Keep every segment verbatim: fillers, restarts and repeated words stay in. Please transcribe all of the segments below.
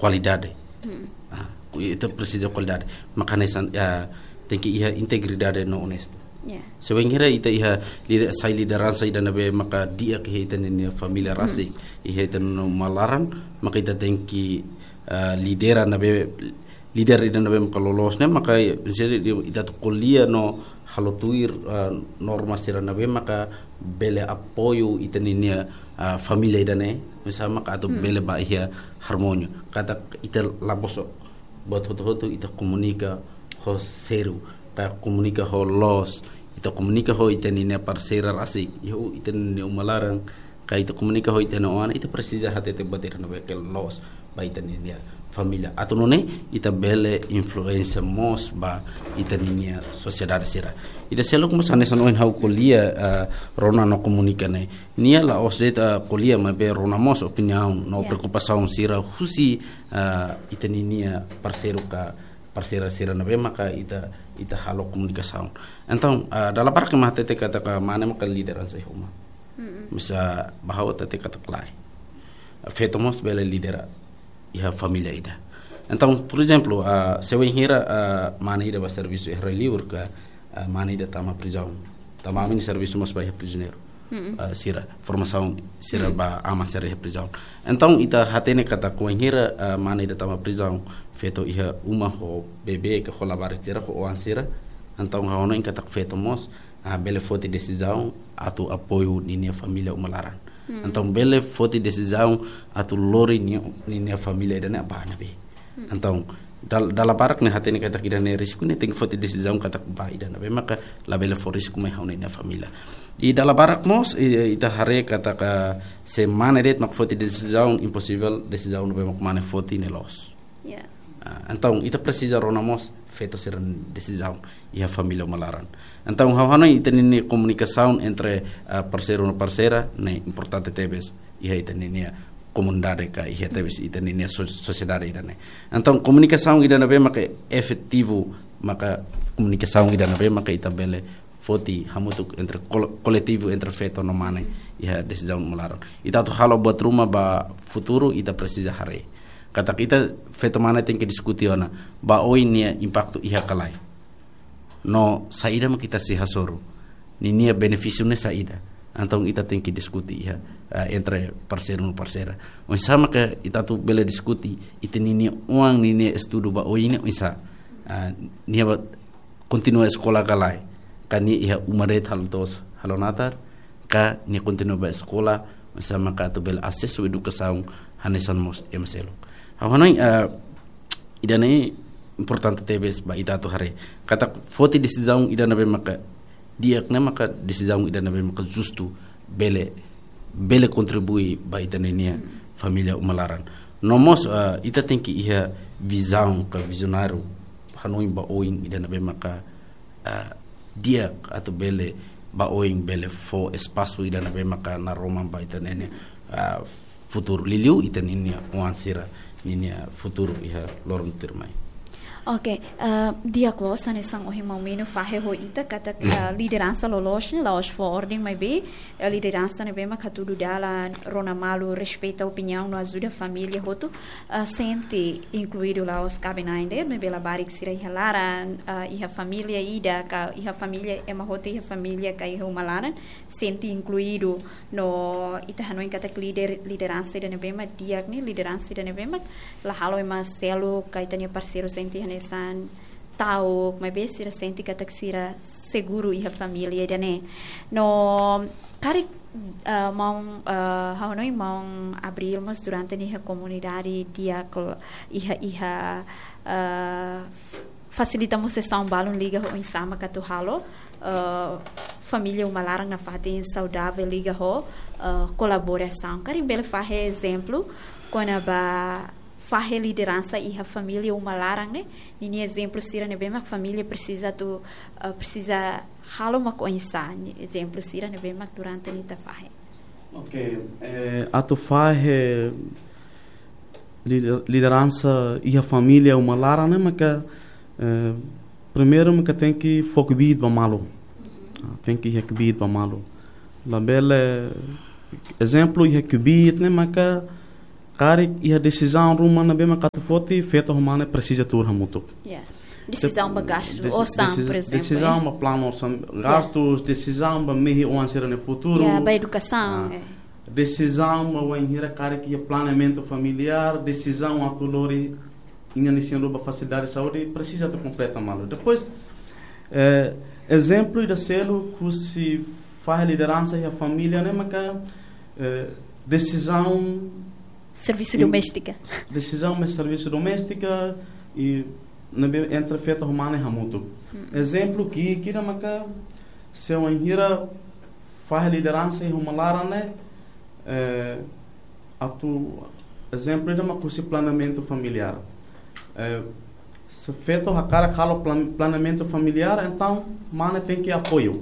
kualidade. Hmm. Ah, ku-, ita presiza kualidade. Maka hanesan, ah, tenke iha integridade no onestu. Ya. Se wainhira ita iha lider-, sai lideransa ida ne'ebé maka di'ak iha ita-nia família, hmm, rasik, iha ita-nia uma laran, maka ita tenke, ah, lidera ne'ebé, lider ida ne'ebé maka loloos ne'e, maka, misalnya, ita atu ko'alia no halo tuir, ah, norma sira ne'ebé maka bele apoiu ita-nia, ah, família ida-ne'e, misalnya maka atu, hmm, bele ba iha harmonia. Katak ita la bosok buat hotu-hotu, ita komunika ho sériu, ita komunika ho loos, ita komunika ho ita-nia parseira rasik, iha ita-nia uma laran, ka ita komunika ho ita-nia oan, ita presiza hatete buat ida ne'ebé ke loos ba ita-nia família. Atu nune'e ita bele influénsia mós ba ita-nia sosiedade sira. Ida seluk mós hanesan ohin ha'u ko'alia, ah, rona no komunika ne'e. Nia la'ós de'it, ah, ko'alia, maibé rona mós opiniaun no, ya, preokupasaun sira husi, ah, ita-nia parseiru ka parseira sira ne'ebé maka ita, ita halo komunikasaun. Entaun, ah, dala barak ema hatete katak mane maka lideransa iha uma. Mm-mm. Mas ba ha'u hatete katak lae. Feto mós bele lidera iha família ida. Entaun, por ezemplu, ah, se wainhira, ah, mane ida ba servisu iha rai-liur ka, ah, mane ida tama prizaun. Tanba ami-nia servisu mós ba iha prizioneiru. Mm-mm. Ah, sira, formasaun sira, mm, ba aman sira iha prizaun. Entaun, ita hatene katak wainhira, ah, mane ida tama prizaun, feto iha uma ho bebé ka ho labarik sira, ho oan sira. Entaun, ha'u hanoin katak feto mós, ah, bele foti desizaun atu apoiu ninia família uma laran. Hmm. Entaun, bele foti desizaun atu lori ni-, ninia família ida-ne'e ba ne'ebé. Hmm. Entaun, dal-, dala barak ne'e hatene katak ida-ne'e risku, ne'e tenke foti desizaun katak ba ida ne'ebé maka labele fó risku mai ha'u-nia família. I dala barak mós, i, ita haree katak se mane de'it mak foti desizaun, imposivel desizaun ne'ebé mak mane foti ne'e loos. Ya. Ah, entaun, ita presiza rona mós feto sira-nia desizaun iha família uma laran. Entaun, ha'u hanoin ita-nia komunikasaun entre, ah, parseiru no parseira ne'e importante tebes iha ita-nia komunidade ka iha tebes ita-nia so-, sosiedade ida-ne'e. Entaun, komunikasaun ida ne'ebé maka efetivu, maka komunikasaun ida ne'ebé maka ita bele foti hamutuk entre kol-, koletivu entre feto no mane iha desizaun uma laran. Ita atu halo buat ruma ba futuru, ita presiza haree katak ita feto mane tenke diskuti ona ba oin nia impaktu iha ka lae. No saida mak ita sei hasoru. Ninia benefísiu ne'e saida. Entaun ita tenke diskuti iha, ah, entre parseiru no parseira. Oinsá maka ita atu bele diskuti ita-nia oan ninia estudu ba oin ne'e oinsá. Ah, nia ba kontinua eskola ka lae, ka nia iha uma de'it halo to'os halo natar, ka nia kontinua ba eskola, oinsá maka atu bele asesu edukasaun hanesan mós ema seluk. Ha'u hanoin, eh, ida-ne'e importante tebes ba ita atu haree katak foti desizaun ida ne'ebé maka di'ak ne'e maka desizaun ida ne'ebé maka justu bele, bele kontribui ba ita-nia família uma laran. No mós, ah, ita tenke iha vizaun ka vizionáriu, hanoin ba oin ida ne'ebé maka, ah, di'ak atu bele ba oin bele fó espasu ida ne'ebé maka naroman ba ita-nia, ah, futuru, liuliu ita-nia oan sira ninia futuru iha loron tuirmai. Oke, eh, di'ak loos, hanesan ohin maun Mino fahe ho ita katak, eh, lideransa loloos ne'e la'ós fó orden, maibé, eh, lideransa ne'ebé mak hatudu dalan, rona malu, respeita opiniaun no ajuda família hotu, eh, sente inkluidu, la'ós kaben ain de'it, maibé labarik sira iha laran, eh, iha família ida ka iha família, ema hotu iha família ka iha uma laran, sente inkluidu. No ita hanoin katak lider, lideransa ida ne'ebé mak di'ak ne'e, lideransa ida ne'ebé mak la halo ema seluk ka ita-nia parseiru sente hanesan ta'uk, maibé sira sente katak sira seguru iha família ida-ne'e. No karik, eh, maun, eh, ha'u hanoin maun Abril mós durante nia iha komunidade di'ak iha, iha, eh, fasilita mós sesaun balun liga ho oinsá maka atu halo, eh, família uma laran nafatin saudavel liga ho, eh, kolaborasaun. Karik bele fahe ezemplu kona-ba fahe lideransa iha família uma laran ne'e, ninia ezemplu sira ne'ebé mak família presiza atu, eh, presiza halo mak oinsá, ninia ezemplu sira ne'ebé mak durante ne'e ita fahe. Oke, eh, atu fahe lider-, lideransa iha família uma laran ne'e maka, eh, primeiru maka tenke fó kbiit ba malu. Ah, tenke iha kbiit ba malu. Labele, ezemplu iha kbiit ne'e maka karik iha desizaun ruma ne'ebé maka atu foti, feto ho mane presiza tuur hamutuk. Ya. Desizaun ba gastu, desi-, osan, desi-, por ezemplu, desizaun, eh, ba planu osan, ya, gastu, desizaun ba mehi oan sira-nia futuru. Ya, ba edukasaun, ah, eh. Desizaun ba wainhira karik iha planeamentu familiár, desizaun atu lori inan-isin rua ba fasilidade saúde, presiza atu kompleta malu. Depois, eh, ezemplu ida seluk husi fahe lideransa iha família ne'e maka, eh, desizaun servisu, in-, doméstika. Desizaun ba servisu doméstika i ne'ebé entre feto ho mane hamutuk. Mm. Ezemplu ki'ik ida maka se wainhira fahe lideransa iha uma laran ne'e, eh, atu ezemplu ida maka husi planeamentu familiár. Eh, se feto hakarak halo plan-, planeamentu familiár, entaun mane tenke apoiu.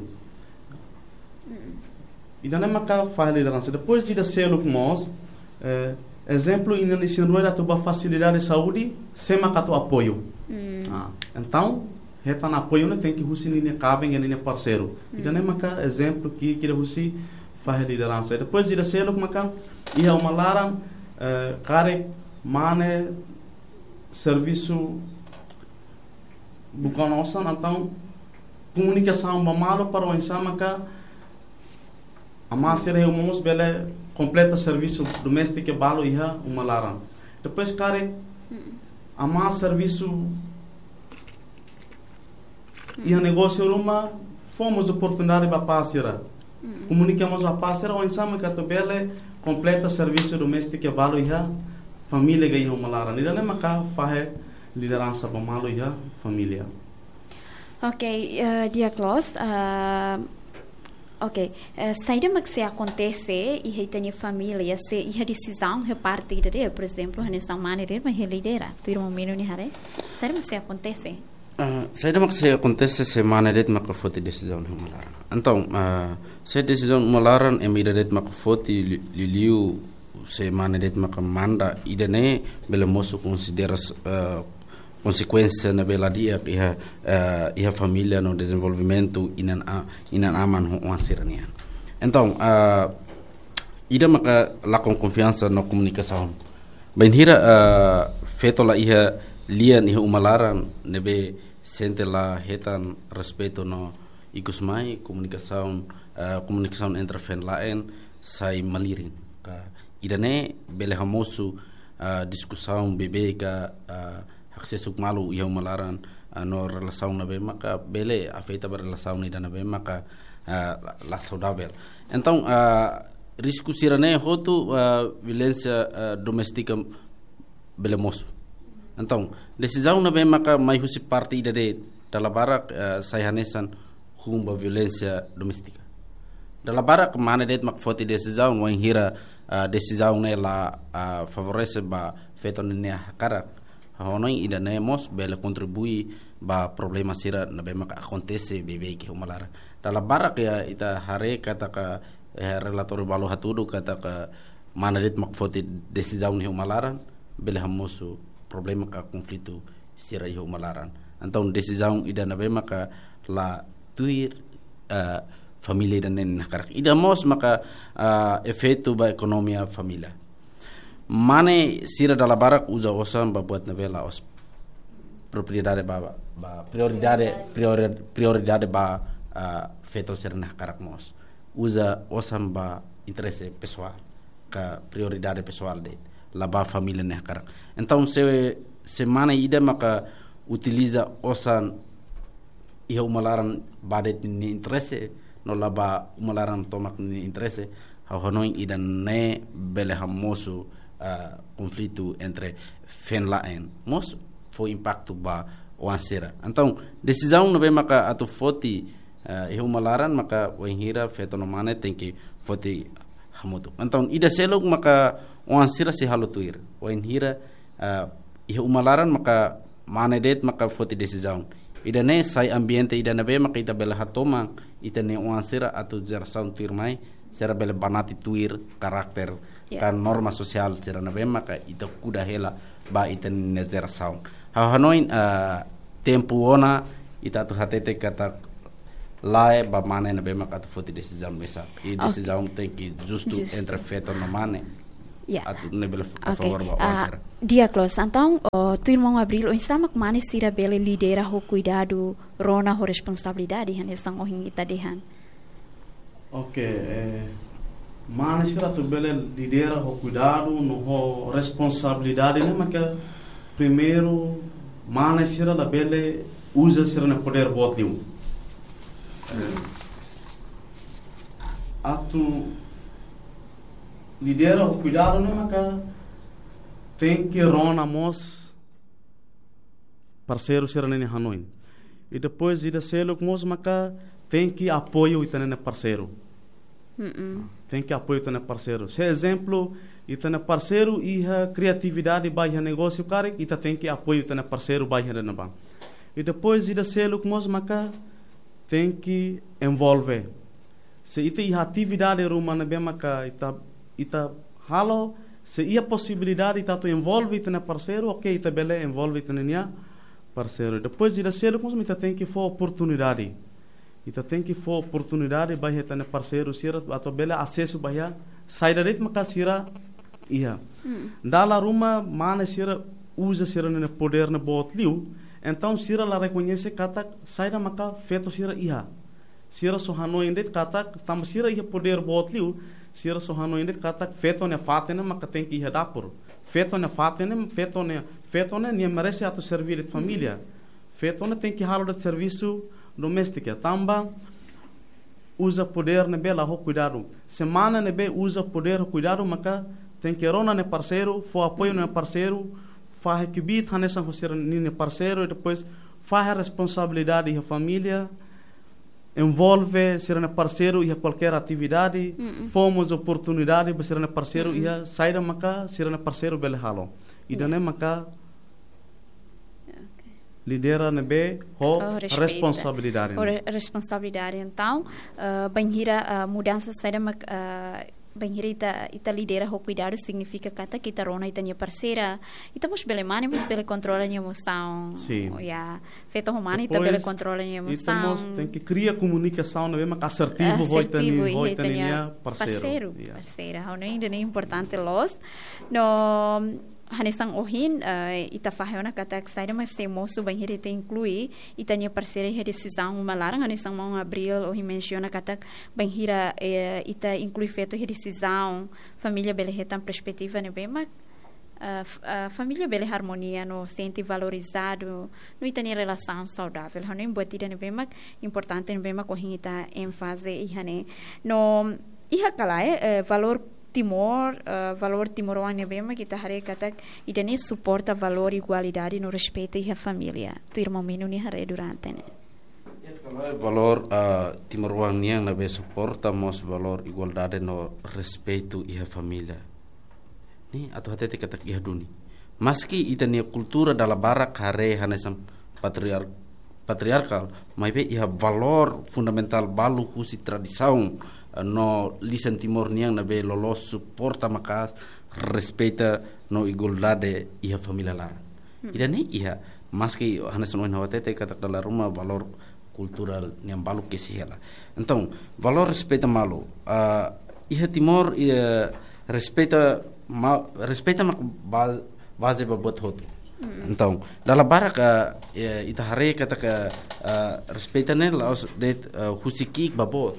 Mm. Ida-ne'e maka fahe lideransa. Depois ida seluk mós, eh, ezemplu, inan-isin rua atu ba fasilidade saúde, sé maka atu apoiu. Mm. Ah, entaun, hetan apoiu ne'e tenke husi ninia kaben, ninia parseiru. Mm. Ida-ne'e maka ezemplu ki'ik ida husi fahe lideransa. Depois ida seluk maka iha uma laran, eh, karik mane servisu buka ona osan, entaun komunikasaun ba malu para oinsá maka amá sira iha uma mós bele kompleta servisu doméstika balu iha uma laran. Depois karik, mm, amá servisu iha negósiu ruma, fó mós oportunidade ba apá sira. Mm. Komunika mós apá sira, oinsá maka atu bele kompleta servisu doméstika balu iha família ka iha uma laran. Ida-ne'e maka fahe lideransa ba malu iha família. Ok, eh, di'ak loos, eh, ok, eh, saida mak sei akontese iha ita-nia família, se iha desizaun iha parte ida de'it, por ezemplu, hanesan mane de'it mak sei lidera, tuir maun Mino nia haree, saida mak sei akontese? Ah, saida mak sei akontese se mane de'it maka foti desizaun iha uma laran? Entaun, ah, se desizaun uma laran ema ida de'it maka foti li-, liuliu se mane de'it maka manda, ida-ne'e bele mosu konsidera, eh, konsekuénsia ne'ebé la di'ak iha, eh, iha família no dezenvolvimentu inan a-, inan-aman ho oan sira-nian. Entaun, eh, ida maka lakon konfiansa no komunikasaun. Bainhira, eh, feto la iha lian iha uma laran ne'ebé sente la hetan respeitu no ikusmai komunikasaun, eh, komunikasaun entre feen-la'en sai malirin. Ka ida-ne'e bele hamosu, eh, diskusaun beibeik ka, eh, haksesuk malu iha uma laran, eh, no relasaun ne'ebé maka bele afeta ba relasaun ida ne'ebé maka, eh, la, la saudavel. Entaun, eh, risku sira-ne'e hotu, eh, violénsia, eh, doméstika bele mosu. Entaun, desizaun ne'ebé maka mai husi parte ida de'it dala barak, eh, sai hanesan hun ba violénsia doméstika. Dala barak mane de'it mak foti desizaun, wainhira, eh, desizaun ne'e la, eh, favorese ba feto ninia hakarak. Ha'u hanoin ida-ne'e mós bele kontribui ba problema sira ne'ebé maka akontese beibeik iha uma laran. Dala barak ya ita haree katak, eh, relatóriu balu hatudu katak mane de'it mak foti desizaun iha uma laran, bele hamosu problema ka konflitu sira iha uma laran. Entaun desizaun ida ne'ebé maka la tuir, eh, família ida-ne'e nia hakarak. Ida mós maka, eh, efeitu ba ekonomia família. Mane sira dala barak uza osan ba buat ne'ebé la'ós propriedade ba, ba, ba prioridade, priori-, prioridade ba, eh, feto sira-nia hakarak mós. Uza osan ba interese pesoál, ka prioridade pesoál de'it, la ba família nia hakarak. Entaun se, se mane ida maka utiliza osan iha uma laran ba de'it nia interese, no la ba uma laran tomak nia interese, ha'u hanoin ida-ne'e bele hamosu, ah, konflitu entre feen-la'en. Mós fó impaktu ba oan sira. Entaun, desizaun ne'ebé maka atu foti, eh, iha uma laran maka wainhira feto no mane tenke foti hamutuk. Entaun, ida seluk maka oan sira sei halo tuir. Wainhira, eh, iha uma laran maka mane de'it maka foti desizaun. Ida-ne'e sai ambiente ida ne'ebé maka ita bele hatoman ita-nia oan sira atu jerasaun tuirmai, sira bele banati tuir karakter, ya, ka norma sosiál sira ne'ebé maka ita kuda hela ba ita-nia jerasaun. Ha'u hanoin, ah, tempu ona ita atu hatete katak lae ba mane ne'ebé maka atu foti desizaun mesak. I, oke, desizaun tenke justu, justu, entre feto no mane. Ya. Atu ne'e bele a favor ba oan sira. Di'ak loos. Entaun, tuir maun Abril, oinsá mak mane sira bele lidera ho kuidadu, rona ho responsabilidade, hanesan ohin ita dehan. Ok, eh, mane sira atu bele lidera ho kuidadu no ho responsabilidade ne'e maka primeiru mane sira labele uza sira-nia podér boot liu. Eh, atu lidera ho kuidadu ne'e maka tenke rona mós parseiru sira-nia hanoin. I depois ida seluk mós maka tenke apoiu ita-nia parseiru. Tenke apoiu ita-nia parseiru. Se ezemplu, ita-nia parseiru iha kriatividade ba iha negósiu karik, ita tenke apoiu ita-nia parseiru ba iha ne'ebá. I depois ida seluk mós maka tenke envolve. Se ita iha atividade ruma ne'ebé maka ita, ita halo, se iha posibilidade ita atu envolve ita-nia parseiru, ok, ita bele envolve ita-nia parseiru. Depois ida seluk mós ita tenke fó oportunidade. Ita tenke fó oportunidade ba ita-nia parseiru sira atu bele asesu ba iha saida de'it maka sira iha. Dala ruma mane sira uza sira-nia podér ne'e boot liu, entaun sira la rekoñese katak saida maka feto sira iha. Sira só hanoin de'it katak, tanba sira iha podér boot liu, sira só hanoin de'it katak feto nia fatin ne'e maka tenke iha dapur. Feto nia fatin ne'e, feto nia, feto ne'e nia merese atu serve de'it família. Feto ne'e tenke halo de'it servisu doméstika. Tanba uza podér ne'ebé la ho kuidadu. Se mane ne'ebé uza podér ho kuidadu maka tenke rona nia parseiru, fó apoiu nia parseiru, fahe kbiit hanesan ho sira-nia parseiru, i depois fahe responsabilidade iha família, envolve sira-nia parseiru iha kualkér atividade, fó mós oportunidade ba sira-nia parseiru iha saida maka sira-nia parseiru bele halo. Ida-ne'e maka lidera ne'ebé ho responsabilidade. Ho re-, responsabilidade. Entaun, eh, bainhira, eh, mudansa saida mak, eh, bainhira ita, ita lidera ho kuidadu signifika katak ita rona ita-nia parseira. Ita mós bele mane, mós bele kontrola nia emosaun. Sin. Ya, feto ho mane ita bele kontrola nia emosaun. Depois, ita mós tenke kria komunikasaun ne'ebé mak asertivu ho ita-nia, ho ita-nia parseiru. Parseiru, parseira. Ha'u hanoin ida-ne'e importante loos. No, hanesan ohin, eh, ita fahe ona katak saida mak sei mosu bainhira ita inklui ita-nia parseira iha desizaun uma laran, hanesan maun Abril ohin mensiona katak bainhira, eh, ita inklui feto iha desizaun, família bele hetan perspetiva ne'ebé mak, eh, f-, eh, família bele harmonia no sente valorizadu, no ita-nia relasaun saudavel. Ha'u hanoin buat ida ne'ebé mak importante ne'ebé mak ohin ita énfaze iha ne'e. No, iha ka lae, eh, valór Timor, eh, valór timoroan ne'ebé mak ita haree katak ida-ne'e suporta valór igualdade no respeitu iha família. Tuir maun Menu nia haree durante ne'e. Iha ka lae valór, eh, timoroan nian ne'ebé suporta mós valór igualdade no respeitu iha família. Ne'e atu hatete katak iha duni. Maski ita-nia kultura dala barak haree hanesan patriar-, patriarkál, maibé iha valór fundamentál balu husi tradisaun, eh, no lisan Timor nian ne'ebé loloos suporta maka'as respeita no igualdade iha família laran. Ida-ne'e iha, maski hanesan ohin ha'u hatete katak dala ruma valór kulturál nian balu kesi hela. Entaun, valór respeita malu. Ah, iha Timor, iha respeita ma-, respeita mak ba-, baze ba buat hotu. Entaun, dala barak, ah, eh, ita haree katak, ah, respeita ne'e la'ós de'it, ah, husi ki'ik ba boot.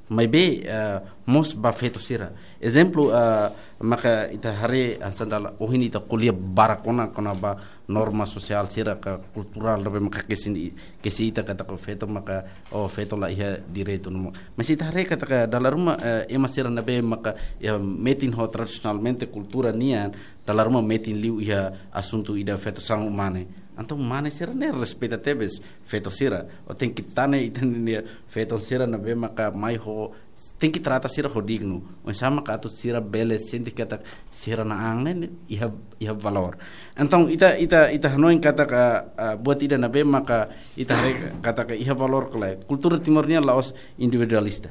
Maibé, ah, mós ba feto sira. Ezemplu, ah, maka ita haree hanesan dala ohin ita ko'alia barak ona kona-ba norma sosiál sira ka kulturál ne'ebé maka kesi, kesi ita katak feto maka, oh, feto la iha direitu no mós. Mas ita haree katak dala ruma, eh, ema sira ne'ebé maka, ya, metin ho tradisionalmente kultura nian, dala ruma metin liu iha asuntu ida feto sang mane. Entaun mane sira ne'e respeita tebes feto sira. Ó tenke hatene ita-nia feto sira ne'ebé maka mai ho, tenke trata sira ho dignu. Oinsá maka atu sira bele sente katak sira-nia an ne'e iha, iha valór. Entaun ita, ita, ita hanoin katak, ah, buat ida ne'ebé maka ita haree katak iha valór ka lae. Kultura Timor nian la'ós individualista.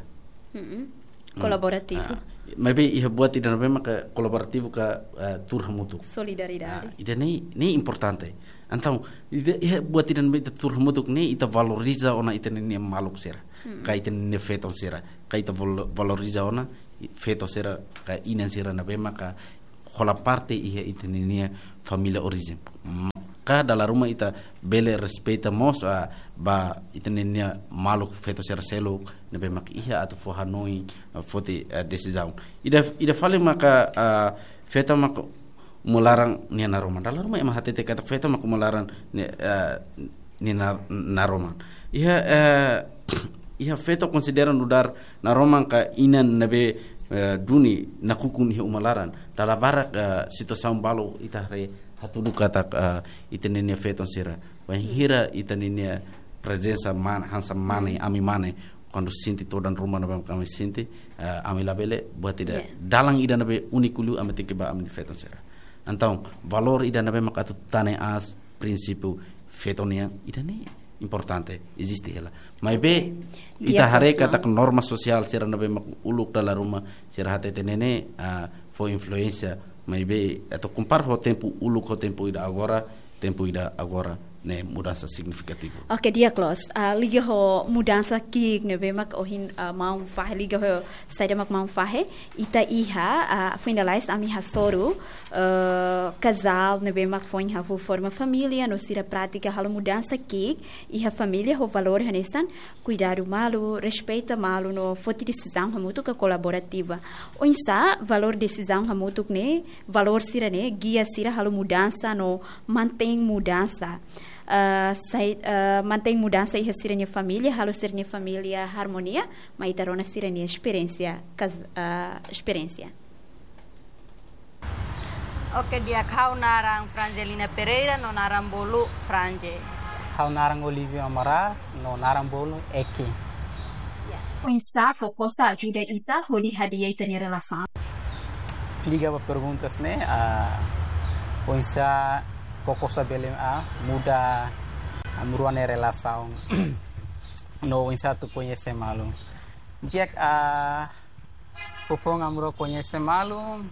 Kolaborativu. Ah, maibé iha buat ida ne'ebé maka kolaborativu ka, ah, tuur hamutuk. Solidariedade. Ah, ida-ne'e, ne'e importante. Entaun, ida, iha buat ida ne'ebé ita tuur hamutuk ne'e ita valoriza ona ita-nia maluk sira. Ka ita-nia feto sira. Ka ita val-, valoriza ona feto sira ka inan sira ne'ebé maka hola parte iha ita-nia família orijen. Ka dala ruma ita bele respeita mós, ah, ba ita-nia maluk feto sira seluk ne'ebé mak iha atu fó hanoin, ah, foti, ah, desizaun. Ida, ida fali maka, ah, feto maka uma laran nia naroman. Dala ruma ema hatete katak feto maka uma laran nia, ah, nia nar-, naroman. Iha, eh, iha feto konsidera nu'udar naroman ka inan ne'ebé, eh, duni nakukun iha uma laran. Dala barak, eh, situasaun balu ita haree hatudu katak, eh, ita-nia feton sira. Wainhira ita-nia prezensa mane, hanesan mane, ami mane, kuandu sente todan ruma ne'ebé mak ami sente, eh, ami labele buat ida. Ya. Dalan ida ne'ebé úniku liu ami tenke ba ami-nia feton sira. Entaun, valór ida ne'ebé mak atu tane aas prinsípiu feto nian, ida-ne'e importante, eziste hela. Maibé, oke, ita haree katak norma sosiál sira ne'ebé mak uluk dala ruma, sira hatete ne'e, ah, fó influénsia, maibé, atu kompara ho tempu uluk ho tempu ida agora, tempu ida agora ne'e mudansa signifikativu. Oke, di'ak loos. Ah, liga ho mudansa ki'ik ne'ebé mak ohin, ah, maun fahe, liga ho saida mak maun fahe, ita iha, ah, foin lalais ami hasoru, eh, kazál ne'ebé mak foin hahú forma família no sira prátika halo mudansa ki'ik iha família ho valór hanesan kuidadu malu, respeita malu no foti desizaun hamutuk ka kolaborativa. Oinsá valór desizaun hamutuk ne'e, valór sira-ne'e, gia sira halo mudansa no mantein mudansa. Eh, sai, eh, mantein mudansa iha sira-nia família, halo sira-nia família armonia, mai ita rona sira-nia esperiénsia, kas-, eh, esperiénsia. Oke, di'ak, ha'u naran Frangelina Pereira, no naran bolu Franje. Ha'u naran Olívio Amaral, no naran bolu Eki. Ya. Oinsá KOKOSA ajuda ita hodi hadi'a ita-nia relasaun? Liga ba perguntas ne'e, ah, oinsá KOKOSA bele, ah, muda ami rua nia relasaun. No oinsá atu koñese malu. Di'ak, ah, foufoun ami rua koñese malu,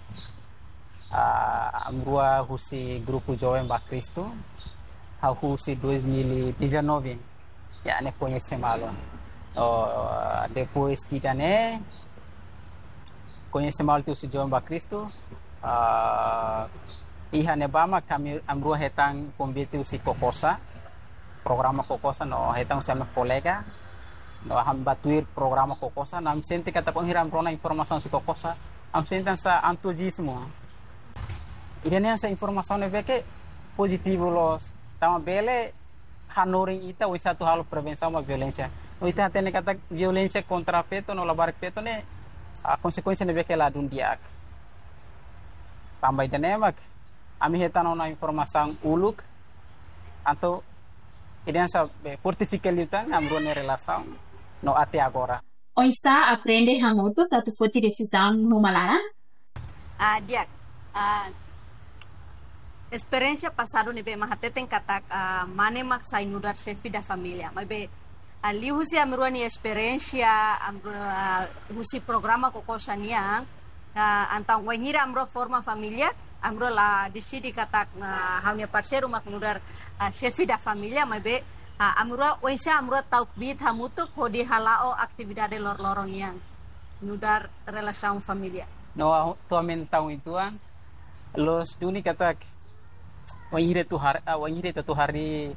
ah, ami rua husi grupu Joven ba Kristu, ha'u husi dois mil e dezanove, ya, ne'e koñese malu. Oh, depois de ida-ne'e, koñese malu tiha husi Joven ba Kristu, ah, iha ne'ebá mak ami, ami rua hetan konvite husi KOKOSA, programa KOKOSA no hetan husi ami kolega, no ami bá tuir programa KOKOSA, no ami sente katak bainhira ami rona informasaun husi KOKOSA, ami sente hanesan entuziazmu. Ida-ne'e hanesan informasaun ne'ebé ke pozitivu loos, tanba bele hanorin ita oinsá atu halo prevensaun ba violénsia. No ita hatene katak violénsia kontra feto no labarik feto ne'e, ah, konsekuénsia ne'ebé ke ladún di'ak. Tanba ida-ne'e mak ami hetan ona informasaun uluk, entaun ida-ne'e hanesan be fortifika liután ami rua nia relasaun no até agora. Oinsá aprende hamutuk atu foti desizaun no uma laran? Ah, di'ak. Ah, esperiénsia pasadu ne'ebé mak hateten katak, ah, mane mak sai nu'udar xefe da família. Maibé, ah, liuhusi ami rua nia esperiénsia, ami rua, ah, husi programa KOKOSA nian, ah, entaun bainhira ami rua forma família, ami rua la deside katak, ah, ha'u-nia parseiru mak nu'udar, ah, xefe da família, maibé, ah, ami rua oinsá ami rua ta'uk kbiit hamutuk hodi hala'o atividade loroloron nian nu'udar relasaun família. No, ah, to'o ami-nia taun uitoan, loos duni katak, bainhira ita har-, ah, bainhira ita atu harii,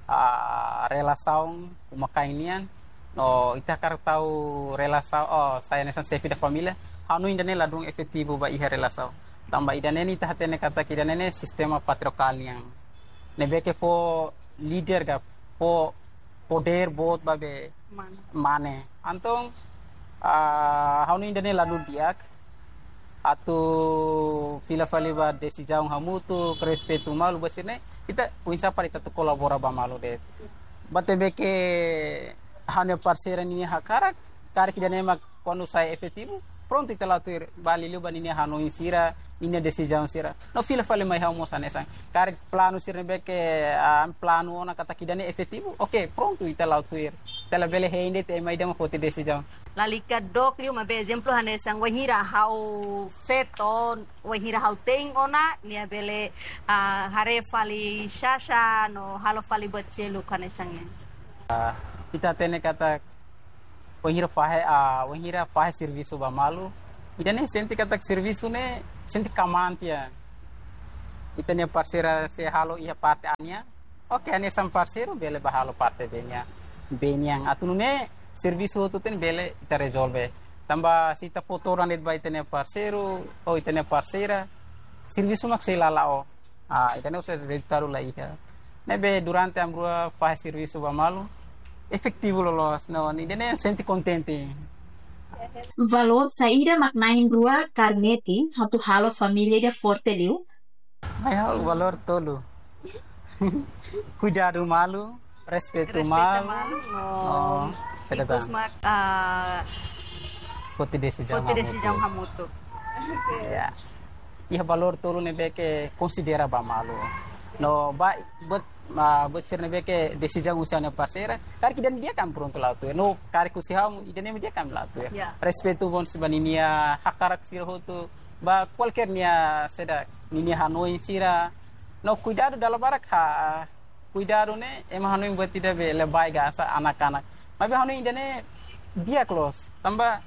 ah, relasaun uma-kain nian, no ita hakarak tau relasaun, oh, sai hanesan xefe da família, hanoin ida-ne'e ladún efetivu ba iha relasaun. Tanba ida-ne'e ita hatene katak ida-ne'e sistema patriarkál nian. Ne'ebé ke fó líder ka fó podér boot ba be mane. Mane. Entaun, ah, ha'u hanoin ida-ne'e ladún di'ak. Atu fila fali ba desizaun hamutuk, respeitu malu ba sira-ne'e, ita oinsá para ita atu kolabora ba malu de'it. Buat ne'ebé ke ha'u-nia parseira ninia hakarak, karik ida-ne'e mak kuandu sai efetivu, prontu ita la'o tuir, bá liuliu ba ninia hanoin sira, ninia desizaun sira. No fila fali mai ha'u mós hanesan. Karik planu sira ne'ebé ke, ah, planu ona katak ida-ne'e efetivu, oke, prontu ita la'o tuir. Ita labele hein de'it ema ida mak foti desizaun. Lalika dook liu maibé ezemplu hanesan bainhira ha'u feto, bainhira ha'u te'in ona, nia bele, ah, haree fali xaxa no halo fali buat seluk hanesan ne'e. Ah, ita hatene katak bainhira fahe, ah, bainhira fahe servisu ba malu, Ida-ne'e sente katak servisu ne'e sente kmaan tiha. Ita-nia parseira sei halo iha parte A nian. Oke, hanesan parseiru bele bá halo parte B nian. B nian. Atu nune'e servisu hotu-hotu ne'e bele ita rezolve. Tanba se ita fó todan de'it ba ita-nia parseiru, ou ita-nia parseira, servisu mak sei la la'o. Ah, ida-ne'e husi rezultadu la iha. Ne'ebé durante ami rua fahe servisu ba malu, efetivu loloos, no, ida-ne'e sente kontente. Valór saida mak na'in-rua kaer metin atu halo família ida forte liu? Mai ha'u valór tolu. Kuidadu malu, respeitu Respeitu malu, malu, no, no, saida tan? Ikus mak, ah, foti desizaun foti hamutuk. Desizaun hamutuk. Ya. Iha valór tolu ne'ebé ke konsidera ba malu. No, ba, buat, ah, buat sira ne'ebé ke desizaun husi ha'u-nia parseira, karik ida-ne'e di'ak ami prontu la'o tuir. No, karik husi ha'u, ida-ne'e di'ak ami la'o tuir. Ya. Respeitu mós ba ninia hakarak sira hotu, ba kualkér nia saida, ninia hanoin sira. No, kuidadu dala barak ha, kuidadu ne'e ema hanoin buat ida be lebay ka hanesan anak-anak. Maibé hanoin ida-ne'e di'ak loos. Tanba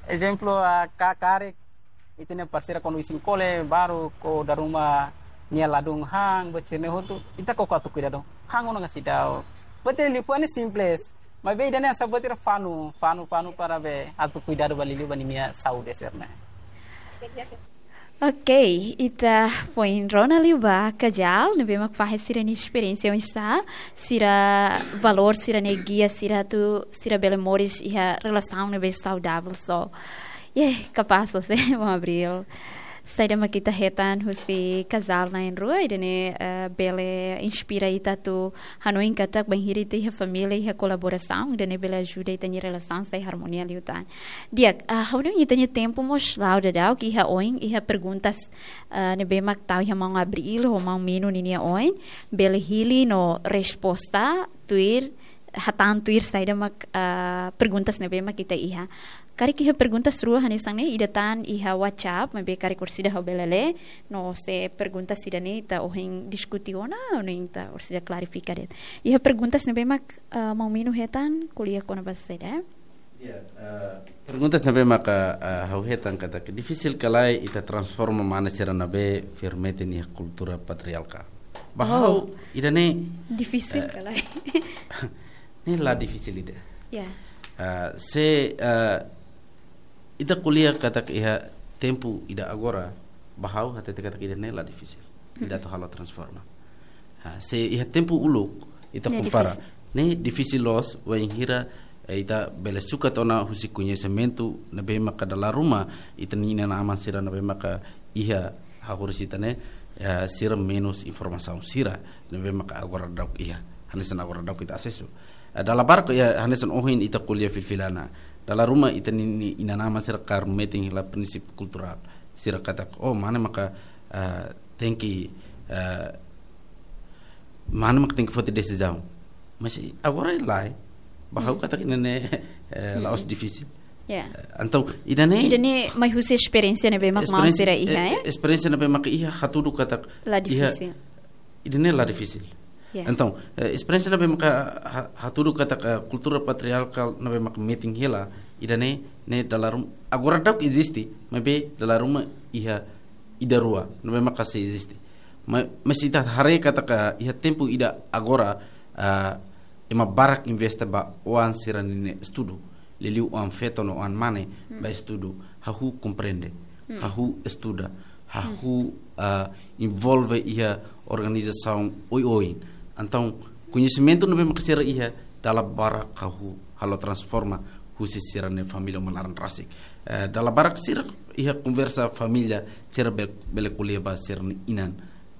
ezemplu, ah, ka-, karik ita-nia parseira kuandu isin-kole baru ko dala ruma nia ladún han, buat sira-ne'e hotu, ita koko atu kuidadu. Han ona ka seidauk. Buat ida liafuan ne'e simples. Maibé ida-ne'e hanesan buat ida fanu, fanu, fanu para be atu kuidadu ba liuliu ba ninia saúde sira-ne'e. Ok, ita foin rona liu ba kazál ne'ebé mak fahe sira-nia esperiénsia oinsá, sira valór sira-ne'e gia sira atu sira bele moris iha relasaun ne'ebé saudavel so. Ye, kapás loos, eh, Maun Abril. Saida mak ita hetan husi kazál na'in-rua, ida-ne'e, eh, bele inspira ita atu hanoin katak bainhira ita iha família, iha kolaborasaun, ida-ne'e bele ajuda ita-nia relasaun sai harmonia liután. Di'ak, ah, ha'u hanoin ita-nia tempu mós la'o daudaun, ke iha oin, iha perguntas, ah, ne'ebé mak tau iha Maun Abril ho Maun Mino ninia oin, bele hili no resposta tuir, hatán tuir saida mak, ah, perguntas ne'ebé mak ita iha. Karik iha perguntas rua hanesan ne'e, ida tan iha WhatsApp, maibé karik orsida ha'u bele lee, no se perguntas ida-ne'e ita ohin diskute ona, no ita orsida klarifika de'it. Iha perguntas ne'ebé mak, ah, Maun Mino hetan, ko'alia kona-ba saida? Ya, eh, perguntas ne'ebé maka, eh, ha'u hetan katak difisil ka lae ita transforma mane sira ne'ebé fó metin iha kultura patriarkál. Ba ha'u, oh, ida-ne'e, difisil, eh, ka lae? Ne'e la difisil ida. Ya. Eh, se, eh, ita ko'alia katak iha tempu ida agora, ba ha'u hatete katak ida-ne'e la difisil. Ida atu halo transforma. Ha, se iha tempu uluk, ita, ne'e kompara, difisil. Ne'e difisil loos, wainhira, eh, ita bele sukat ona husi koñesimentu ne'ebé maka dala ruma, ita-nia inan-aman sira ne'ebé maka iha hahoris ita-nia, eh, sira menus informasaun sira ne'ebé maka agora daudaun iha. Hanesan agora daudaun ita asesu. Eh, dala barak iha hanesan ohin ita ko'alia fila-fila ona. Dala ruma ita-nia, nia inan-aman sira kaer metin hela prinsípiu kulturál. Sira katak, oh, mane maka, eh, tenke, eh, mane maka tenke foti desizaun. Mas agora lae, ba ha'u, hmm, katak ida-ne'e, eh, la'ós, hmm, difisil. Ya. Eh, entaun, ida-ne'e, ida-ne'e mai husi esperiénsia ne'ebé mak maun, esperiénsia, sira iha, eh, ya? Esperiénsia ne'ebé maka iha hatudu katak la iha, difisil. Ida-ne'e la difisil. Ya. Entaun, eh, esperiénsia ne'ebé maka ha-, hatudu katak kultura patriarkál ne'ebé maka metin hela, ida-ne'e, ne'e dala ruma, agora daudaun eziste, maibé dala ruma iha ida rua, ne'ebé maka sei eziste. Ma-, mas ita haree katak iha tempu ida agora, ah, ema barak investe ba oan sira-nia estudu. Liuliu oan-feto no oan-mane, hmm, ba estudu, hahú komprende, hmm, hahú estuda, hahú, hmm, ah, envolve iha organizasaun oioin. Entaun, koñesimentu ne'ebé maka sira iha, dala barak hahú halo transforma husi sira-nia família uma laran rasik. Eh, dala barak sira iha konversa família, sira be-, bele ko'alia ba sira-nia inan.